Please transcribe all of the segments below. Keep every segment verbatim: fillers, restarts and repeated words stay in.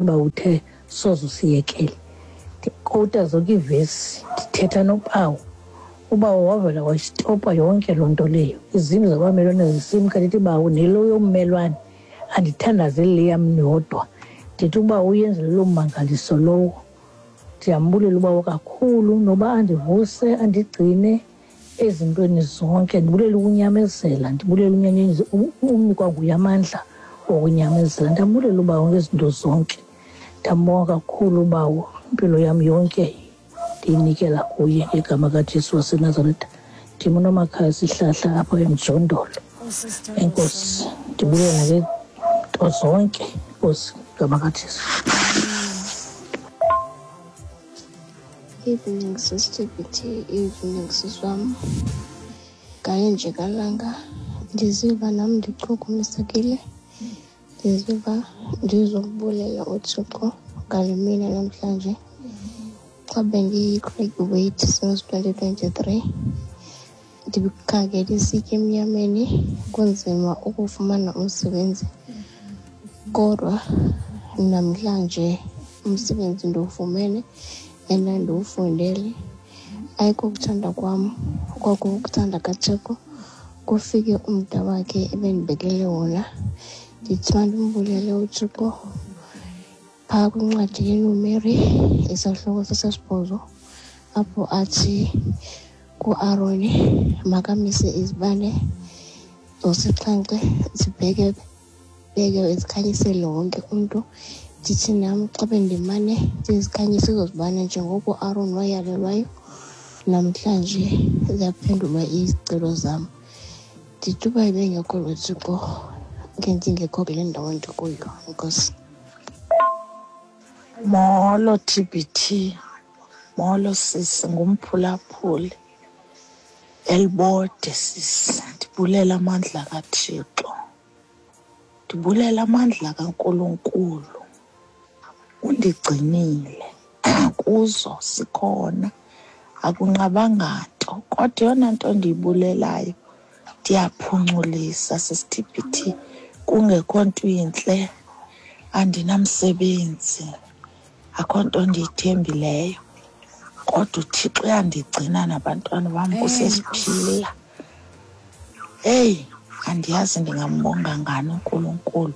Uba uthe soze usiyekele. Ndikowuta zonke iivesi, ndithetha nobawo. Ubawo wavela wayisitopa yonke loo nto leyo. Izindlu zabamelwane zisimka. Ndithi, "Bawo, nelo yommelwane andithandazeli le yam yodwa." Ndithi uba uyenzele loo mmangaliso lowo. Ndiyambulela ubawo kakhulu noba andivuse, andigcine ezintweni zonke. Ndibulela ukunyamezela, ndibulela unikwa nguye amandla okunyamezela. Ndiyambulela ubawo ngezinto zonke. Ndiyambonga kakhulu ubawo, impilo yam yonke ndiyinikela kuye ngegama kaJesu waseNazaretha. Ndim uNomakhaya Sihlahla apha eMjondolo. Enkosi, ndibulela ngeento zonke. Enkosi ngegama kaJesu. Evening, Sister B T. Evening, sis wam. Ngale nje kalanga ndiziva nam ndichukumisekile, ndiziva ndizobulela uThixo ngale mini namhlanje. Xa bendiyi-graduate since twenty twenty-three, ndikhangela isitya emnyameni, kunzima ukufumana umsebenzi, kodwa namhlanje umsebenzi ndiwufumene and ndiwufundele. Ayikokuthanda kwam, kwakukuthanda kaThixo. Kufike umda wakhe ebendibekele wona. Ndithi mandimbulele uThixo phaa kwincwadi yeNumeri, isahluko sesibhozo, apho athi kuAroni makamise izibane zosixhenxe zibheke beke zikhanyisele wonke umntu. Ndithi nam xa bendimane ndizikhanyisa ezo zibane njengoko uAron wayalelwayo, namhlanje ziyaphendulwa izicelo zam. Ndithi uba ebengekho lo Thixo, ngendingekho kule ndawo ndikuyo. Enkosi. Molo T B T, molo sisi, ngumphulaphuli Elibode sisi. Ndibulela amandla kaThixo, ndibulela amandla kaNkulunkulu. Undigcinile kuzo sikhona, akunqabanga nto. Kodwa eyona nto ndiyibulelayo, ndiyaphunculisa sisi T B T, kungekho nto intle, andinamsebenzi, akho nto ndiyithembileyo, kodwa uThixo uyandigcina nabantwana bam kusesiphila. Heyi, andiyazi ndingambonga ngani uNkulunkulu.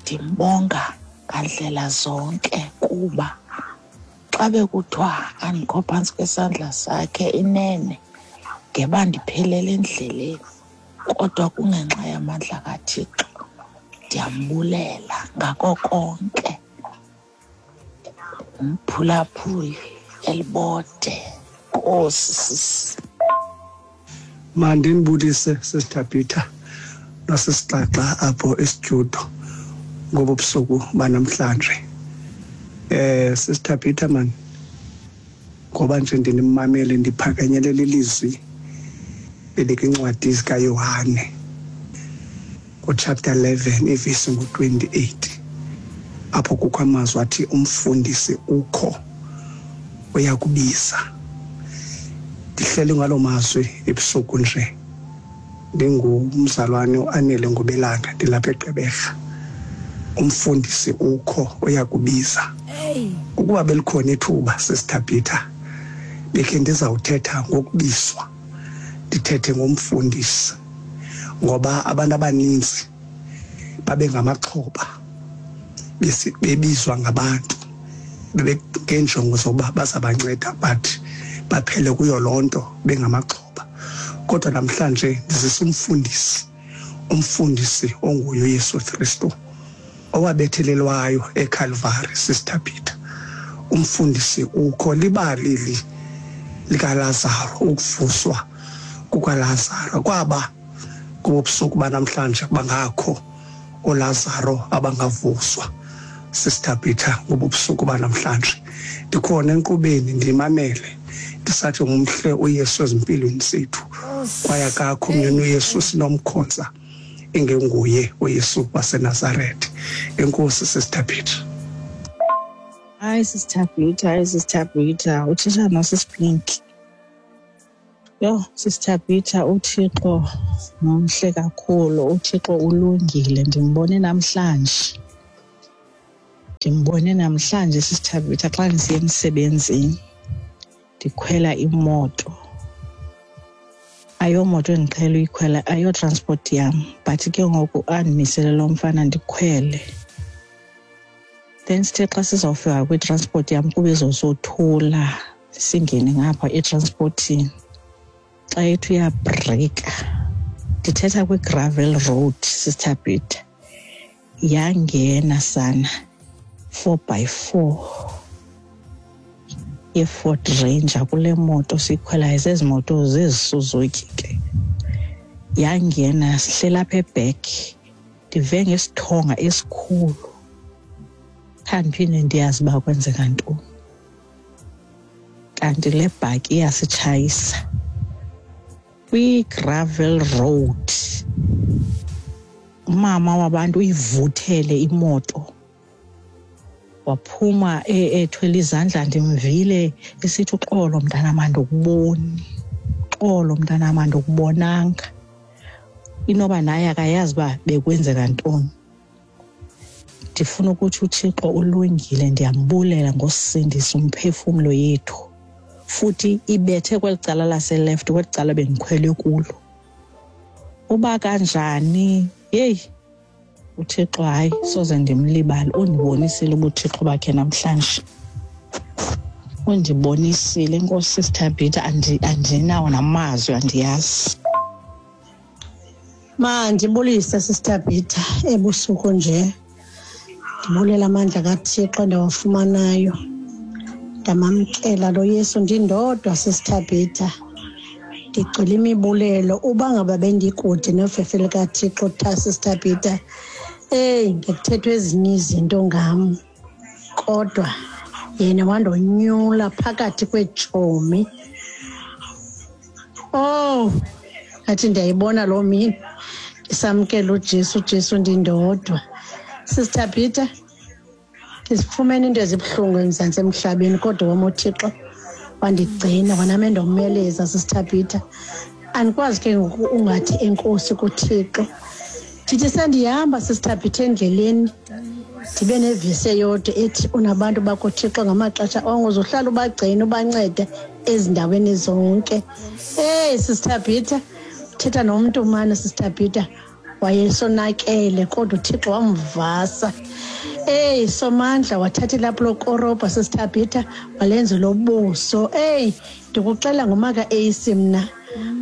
Ndimbonga ngandlela zonke kuba xa bekuthiwa andikho phantsi kwesandla sakhe, inene ngeba ndiphelele endleleni, kodwa kungenxa yamandla kaThixo. Ndiyambulela ngako konke. Umphulaphuli Elibode. Nkosi sisi. Mandinibulise, Sister Peter nosisixaxa apho estudio, ngobu busuku banamhlanje. eh Sister Peter man, ngoba nje ndinimamele, ndiphakanyelela ilizwi elikwincwadi zikaYohane kuchapter eleven ivesi ngu-twenty-eight, apho kukho amazwi athi umfundisi ukho, uyakubiza. Ndihleli ngalo mazwi ebusuku nje. Ndingumzalwane uAnele Ngubelanga, ndilapha eGqeberha. Umfundisi ukho, uyakubiza. Ukuba belikhona ithuba, Sister Peter, bekhe ndizawuthetha ngokubizwa, ndithethe ngomfundisi, ngoba abantu abaninzi babe ngamaxhoba bebizwa ngabantu ngenjongo zokuba bazabanceda, but baphele kuyo loo nto bengamaxhoba. Kodwa namhlanje ndizisa umfundisi, umfundisi onguye uYesu Kristu owabethelelwayo eCalvary. Sister Peter, umfundisi ukho. Libali likaLazaro, ukuvuswa kukaLazaro, kwaba kubusuku banamhlanje bangakho oLazaro abangavuswa. Sister Peter, ngobubusuku banamhlanje ndikhona enkqubeni, ndimamele, ndisathi ngumhle uYesu ezimpilweni zethu, kwaye akakho omnye uYesu sinomkhonza ingenguye uYesu waseNazaretha. Enkosi, Sister Peter. Hayi, Sister Peter, hayi, Sister Peter, uthetha noSisipinki. Yho, Sister Peter, uThixo mhle kakhulu, uThixo ulungile, ndimbone namhlanje. Ndimbone namhlanje Sister Thabitha xa ndisiya emsebenzini, ndikhwela imoto. Ayomoto endiqhele uyikhwela, ayo-transport yam, but ke ngoku andimisele lo mfana ndikhwele. Then sithe xa sizawufika kwitransport yam kube izosothula, singene ngapha etransportini. Xa ethi uyabreyika, ndithetha kwi-gravel road, Sister Peter, yangena sana four by four ye-Ford Ranger kule moto siyikhwelayo, zezi moto zezi Suzuki ke. Yangena, sihleli apha e-back, ndive ngesithonga esikhulu. Khandiphinde ndiyazi uba kwenzeka ntoni. Kanti le bhaki iyasitshayisa kwi-gravel road. Umama wabantu uyivuthele imoto, waphuma ethwele izandla. Ndimvile esithi, uxolo mntanam, andikuboni, uxolo mntanam, andikubonanga. Inoba naye akayazi uba bekwenzeka ntoni. Ndifuna ukuthi uThixo ulungile, ndiyambulela ngosindisa umphefumlo yethu. Futhi ibethe kweli cala lase-left, kweli cala bendikhwele kulo. Uba kanjani, yeyi uThixo, hayi soze ndimlibale. Undibonisile ubuThixo bakhe namhlanje, undibonisile. Enkosi Sister Peter, andinawo namazwi, andiyazi. Mandibulise Sister Peter ebusuku nje, ndibulela amandla kaThixo endawafumanayo. Ndamamkela lo Yesu ndindodwa Sister Peter, ndigcwele imibulelo. Uba ngaba bendikude nofefe likaThixo tha Sister Peter, eyi ngekuthethwa ezinye izinto ngam, kodwa yena wandonyula phakathi kweetshomi. Oh, ngathi ndiyayibona loo mini ndisamkela uJesu, uJesu ndindodwa. Sister Peter, ndizifumene into ezibuhlungu eMzantsi emhlabeni, kodwa wam uThixo wandigcina, wanam endomeleza Sister Peter. Andikwazi ke ngoku ungathi enkosi kuThixo. Ndithi sendihamba Sister Peter endleleni, ndibe nevesi eyodwa ethi unabantu bakho Thixo ngamaxesha onke, uzohlala ubagcine ubancede ezindaweni zonke. Hey Sister Peter, uthetha nomntu mane Sister Peter, wayesonakele kodwa uThixo wamvasa. Hey Somandla, wathatha ilapho lokorobha Sister Peter, walenza lobuso. Hey ndikuxela ngumaka A C mna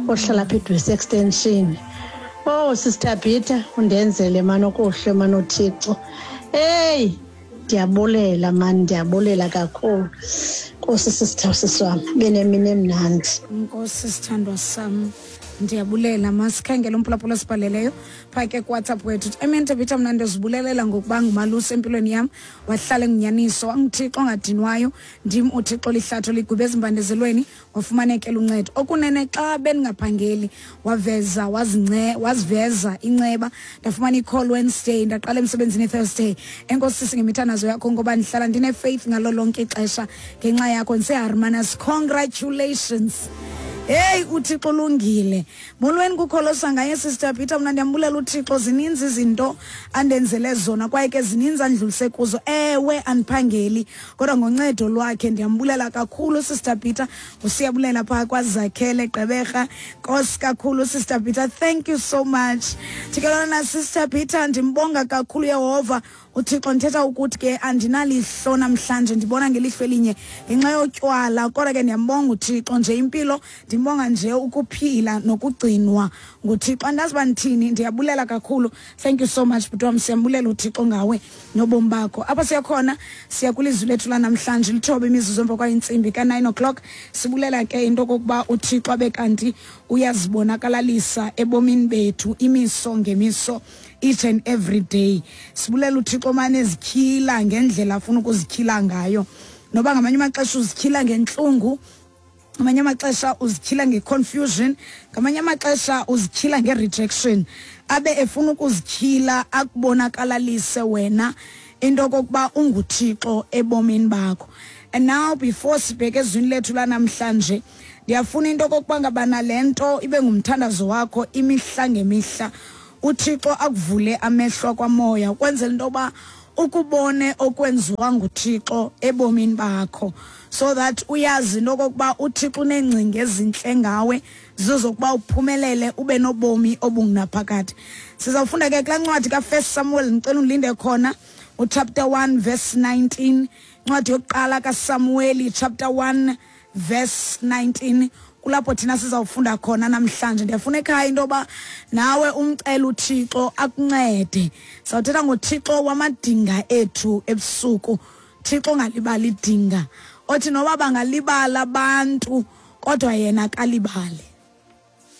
ohlala apha eDwesi Extension. Oh Sister Peter, undenzele mani okuhle mani uThixo. Hey ndiyabulela mani, ndiyabulela kakhulu. Nkosi sister sisi wam, benemini emnandi. Nkosi sithandwa sam, ndiyabulela. Masikhangele umphulaphula osibhaleleyo phaa ke kuWhatsApp wethu. Amen Thabitha, mna ndizibulelela ngokuba ngumalusi empilweni yam, wahlala engunyaniso, wanguThixo ongadinwayo. Ndim uThixo lihlatho ligube ezimbandezelweni, wafumanekela uncedo. Okunene xa bendingaphangeli, waveza wazince waziveza inceba. Ndafumana i-call Wednesday, ndaqala emsebenzini Thursday. Enkosi sisi ngemithandazo yakho, ngoba ndihlala ndine-faith ngalo lonke ixesha ngenxa yakho. NdiseHarmanas, congratulations. Hey uThixo ulungile. Molweni kukholosa ngaye Sister Peter, mna ndiyambulela uThixo. Zininzi izinto andenzele zona kwaye ke zininzi andidlulise kuzo. Ewe andiphangeli, kodwa ngoncedo lwakhe ndiyambulela kakhulu Sister Peter. Usiyabulela phaa kwaZakhele Gqeberha. Nkosi kakhulu Sister Peter, thank you so much. Thikelana Sister Peter, ndimbonga kakhulu Yehova uThixo. Ndithetha ukuthi ke andinalihlo namhlanje, ndibona ngelihlo elinye ngenxa yotywala, kodwa ke ndiyambonga uThixo nje impilo, ndimbonga nje ukuphila nokugcinwa nguThixo. Andazi uba ndithini, ndiyabulela kakhulu. Thank you so much bhuti wam, siyambulela uThixo ngawe nobomi bakho. Apha siya khona, siya kwilizwi lethu lanamhlanje, lithoba imizuzu emva kwayintsimbi ka-nine o'clock. Sibulela ke into okokuba uThixo abe kanti uyazibonakalalisa ebomini bethu imiso ngemiso, each and every day. Sibulela uThixo mane ezityhila ngendlela afuna ukuzityhila ngayo, noba ngamanye amaxesha uzityhila ngentlungu, ngamanye amaxesha uzityhila nge-confusion, ngamanye amaxesha uzityhila nge-rejection. Abe efuna ukuzityhila akubonakalalise wena into okokuba unguThixo ebomini bakho. And now before sibheke ezwini lethu lanamhlanje, ndiyafuna into okokuba ngabana le nto ibe ngumthandazo wakho imihla ngemihla. uThixo akuvule amehlo kwamoya ukwenzela into yoba Ukubone okwenziwa nguThixo ebomini bakho, so that uyazi into okokuba uThixo uneengcinga ezintle ngawe zizokuba uphumelele ube nobomi obungunaphakade. Sizawufunda ke kulaa ncwadi kaFirst Samuel, ndicela undilinde khona, uchapter one verse nineteen, incwadi yokuqala kaSamueli chapter one verse nineteen, kulapho thina sizawufunda khona namhlanje. Ndiyafuna ekhaya into yoba nawe umcela uThixo akuncede. Sawuthetha ngoThixo wamadinga ethu ebusuku, Thixo ongalibali idinga, othi noba bangalibala abantu kodwa yena akalibali.